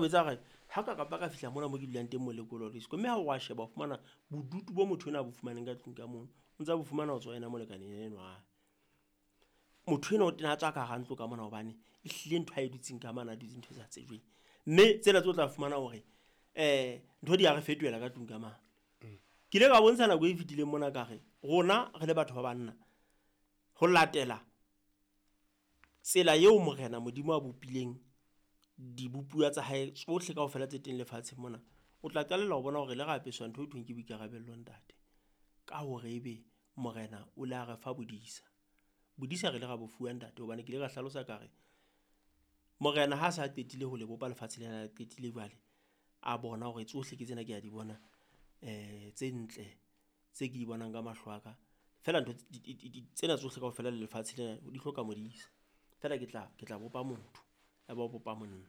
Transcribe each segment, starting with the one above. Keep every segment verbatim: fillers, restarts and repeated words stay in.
Etsa hore ha ka kapa ka fihla mona mo ke dulang teng mo lekolo disco, mme ha o wa sheba o fumana bodutu bo motho enwa a bo fumaneng ka tlung ka mono, o ntsa bo fumana ho tswa ho yena molekane enwa wa hae. Motho enwa o tena a tswa ka hara ntlo ka mona hobane ehlile ntho ae dutseng ka mane a dutse ntho e sa tsejweng. Mme tsena tse o tla fumana hore ntho di ya re fetohela ka tlung ka mane. Ke ile ka bontsha nako e fetileng mona ka re rona re le batho ba banna, ho latela tsela eo Morena Modimo a bopileng dibopuwa tsa hae tsohle kaofela tse teng lefatsheng mona. O tla qalella ho bona hore le ra apeswa ntho e thweng ke boikarabello ntate, ka hore ebe morena o la re fa bodisa. Bodisa re ile ra bo fuwa ntate hobane ke ile ka hlalosa ka re, morena ha sa qetile ho le bopa lefatshe lena, a qetile jwale a bona hore tsohle ke tsena ke a di bona tse ntle tse ke di bonang ka mahlo a ka. Feela ntho tsena tsohle kaofela le lefatshe lena di hloka modisa. Feela ke tla ke tla bopa motho, ya ba o bopa monna.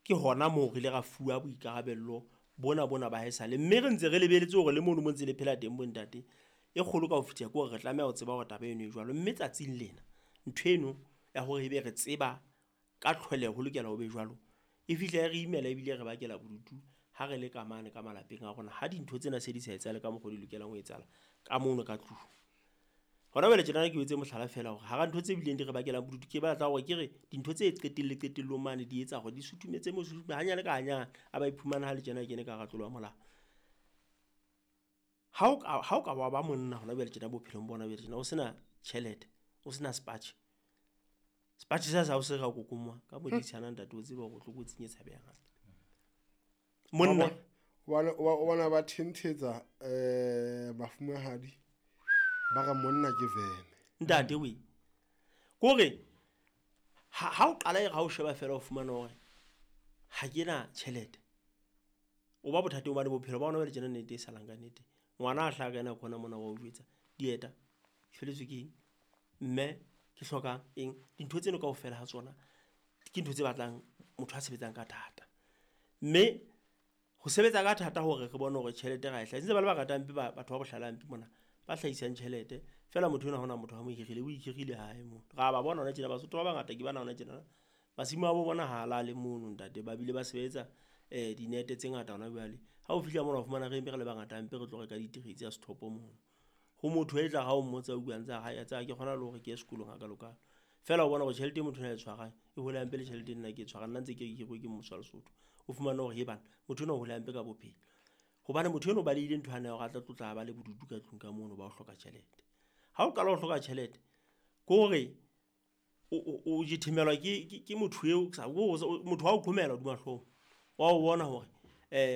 Ke hona moo re ile ra fuwa boikarabello bona bona ba haesale, mme re ntse re lebeletse hore le mono mo ntse le phela teng bo ntate. E kgolo ka ho fetisa ke hore re tlameha ho tseba hore taba eno e jwalo, mme tsatsing lena ntho eno ya hore ebe re tseba ka tlholeho ho lokela ho be jwalo, e fihla e re imela ebile re bakela bodutu ha re le ka mane ka malapeng a rona. Ha dintho tsena se di sa etsahale ka mokgo di lokelang ho etsahala ka mono ka tlung. Hona jwale tjenana ke o etse mohlala feela hore hara ntho tse bileng di re bakelang bodutu, ke batla hore ke re dintho tse qetelle qetellong mane di etsa hore di sutumetse mo hanyane ka hanyane, a ba iphumana ha le tjena a kene ka hara tlolo ya molao. Ha o ka ha o ka wa ba monna hona jwale tjena bophelong bona jwale tjena o sena tjhelete, o sena sepatjhe, sepatjhe sa sa hao se ka kokomoha ka moditshana ntate, o tsebe hore o tlokotsing e tshabehang. Monna Hobane o bona ba thenthetsa eh mafumahadi ba re monna ke vene. Ntate we, kore ha ha o qala e re ha o sheba feela o fumana hore ha ke na tjhelete, o ba bothateng hobane bophelo ba hona jwale tjena nnete e salang ka nnete. Ngwana a hlaha ka ena khona mona wa o jwetsa dieta, ke felletswe ke eng, mme ke hloka eng. Dintho tseno kaofela ha tsona ke ntho tse batlang motho a sebetsang ka thata, mme ho sebetsa ka thata hore re bone hore tjhelete ra e hlahisa. Ntse ba le bangata hampe ba batho ba bohlale hampe mona ba hlahisang tjhelete feela motho enwa ha hona motho a mo hirile, o ihirile hae mono. Ra ba bona hona tjena Basotho ba bangata ke bana hona tjena masimo a bo bona ha lale mono ntate, ba bile ba sebetsa dinete tse ngata hona jwale. Ha o fihla mona o fumana re eme re le bangata hampe re tlo reka diterei tsa sethopo mono. Ho motho e tla ha o mmotsa o bua ntse a re tseba ha ke kgona le hore ke ye sekolong hakalo-kalo. Feela o bona hore tjhelete e motho enwa a e tshwarang e hole hampe le tjhelete e nna ke e tshwarang, nna ntse ke re ke hiruwe ke mmuso wa Lesotho. O fumane hore hee banna motho enwa o hole hampe ka bophelo hobane motho enwa o balehile ntho yane ya hore a tla tlotla ba le bodutu ka tlung ka mono ba ho hloka tjhelete. Ha o qala ho hloka tjhelete ke hore o o jethemelwa ke ke ke motho eo motho wa o qhomela hodima hlooho, wa o bona hore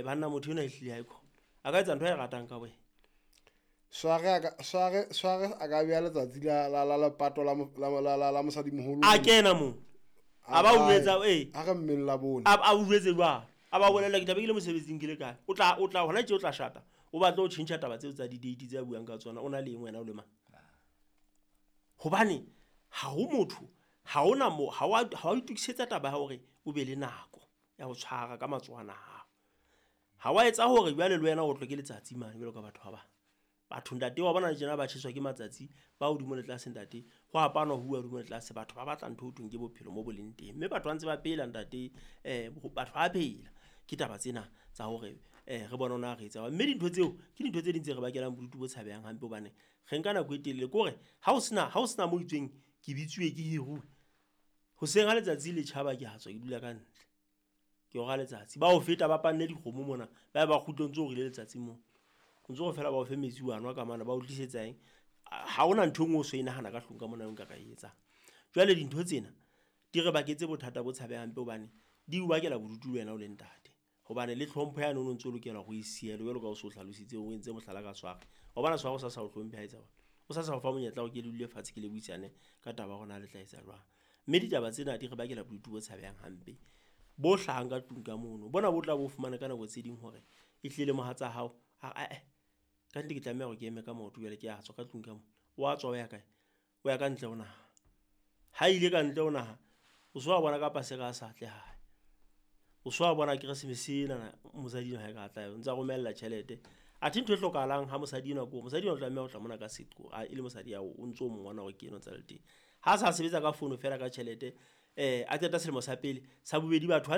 banna motho enwa ehlile aikhona a ka etsa ntho ae ratang ka wena. Sware a ka sware sware a ka beha letsatsi la la la lepato la la la la mosadimoholo. A kena moo. A ba o jwetsa ee. A re mmeng la bone. A a o jwetse jwalo. A ba bolella ke tla be ke le mosebetsing ke le kae. O tla o tla hona tje o tla shata. O batla ho tjhentjha taba tseo tsa di-date tse a buang ka tsona, o na le eng wena o le mang? Hobane ha ho motho, ha hona mo ha wa ha wa itokisetsa taba ya hore o be le nako ya ho tshwara ka matsohwana a hao. Ha wa etsa hore jwale le wena o tlwe ke letsatsi mane jwalo ka batho ba bang. Batho ntate wa bona tjena ba tjheswa ke matsatsi, ba hodimo le tlase ntate, ho apanwa ho uwa hodimo le tlase. Batho ba batla ntho e thweng ke bophelo mo bo leng teng, mme batho ba ntse ba phela ntate, batho ba phela. Ke taba tsena tsa hore re bone hore na re etsa. Mme dintho tseo ke dintho tse ding tse re bakelang bodutu bo tshabehang hampe hobane re nka nako e telele. Ke hore ha o sena ha o sena mo itsweng ke bitsuwe ke hiruwe, hoseng ha letsatsi le tjhaba ke a tswa ke dula ka ntle. Ke ora letsatsi, ba o feta ba panne dikgomo mona, ba ba kgutle o ntso o rile letsatsi moo. O ntso re feela ba o fe metsi wa nwa ka mane, ba o tlisetsa eng. Ha hona ntho e nngwe o so e nahana ka tlung ka mona nka ka e etsang. Jwale dintho tsena di re baketse bothata bo tshabehang hampe hobane di o bakela bodutu le wena o le ntate. Hobane le tlhompho yane o no ntso lokela hore o e siele jwalo ka o so hlalositse o entse mohlala ka Sware. Wa bona Sware o sa sa o hlomphe ha etsa jwang. O sa sa o fa monyetla hore ke le dule fatshe ke le buisane ka taba ya hore na le tla etsa jwang. Mme ditaba tsena di re bakela bodutu bo tshabehang hampe bo hlahang ka tlung ka mono. Bona bo tla bo fumana ka nako tse ding hore e hlile mohatsa hao a re ae ka nnete ke tlameha hore ke eme ka maoto jwale ke a tswa ka tlung ka mona. Wa tswa o ya kae? O ya ka ntle ho naha. Ha ile ka ntle ho naha, o so wa bona ka paseka a sa tle hae. O so wa bona Keresemese ena mosadi enwa ha e ka tla, o ntsa romella tjhelete. Athe ntho e hlokahalang ha mosadi enwa ko, mosadi enwa o tlameha ho tla mona ka seqo, a e le mosadi ya o ntso mmona hore ke enwa ntsa le teng. Ha sa sebetsa ka fono feela ka tjhelete, a qeta selemo sa pele, sa bobedi batho ha